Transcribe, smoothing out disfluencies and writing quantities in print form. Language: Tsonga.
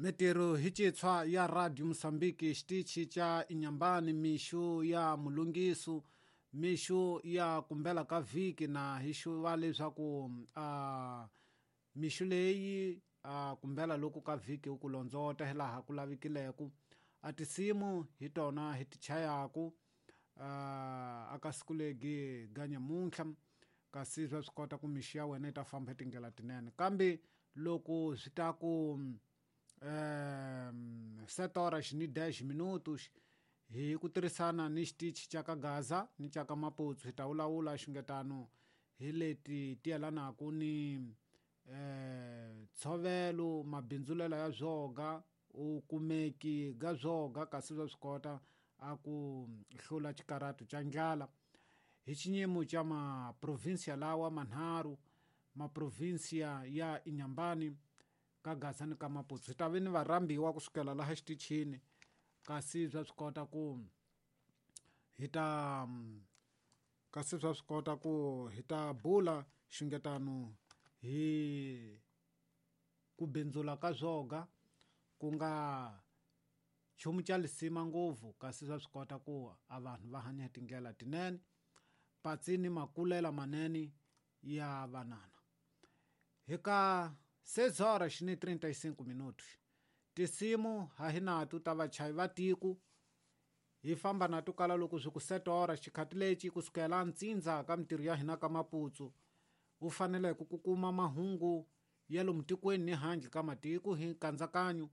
Mitirho hi citshwa ya Radio Mosambiki xitichi ca Inhambane mixo ya mulungiso mixo ya kumbela ka vhiki na hi xuva leswaku a mixo leyi a kumbela loku ka vhiki u ku londzota hilaha ku lavikileko a tinsimu hi tona hi ti chayaku a ka siku legi ga nyamuntlha kasi swa swi kota ku mixo ya wena yi ta famba hi tindlela tinene kambe loko swi ta ku 7 horas ni 10 minutos hi ku tirhisana ni xitichi xa ka Gaza ni xa ka Maputo hi ta vulavula xungetano hi leti ti yelanaka ni ntshovelo mabindzulela ya byoga u kumeki ga byoga kasi swa swi kota a ku hlula xikarhato xa ndlala hi xinyimo xa maprovinsiya lawa manharhu maprovinsiya ya Inhambane ka Gaza ni ka Maputo hi ta ve ni varhambiwa kusukela laha xitichini kasi bya swi kota ku hi ta kasi swa swi kota ku hi ta bula xungetano hi ku bindzula ka byoga ku nga nchumu xa lisima ngopfu kasi swa swi kota ku a vanhu va hanya hi tindlela tinene patsi ni makulela manene ya vanana hi ka 6 horas ni 35 minutos tinsimu ha hi nato ta vachayi va tiko hi famba na to kala loko swi ku 7 horas xikhati lexi kusukela ntsindza ka mintirho ya hina ka Maputo u faneleke ku kuma mahungu ya lomu tikweni ni handle ka matiko hi nkatsakanyo.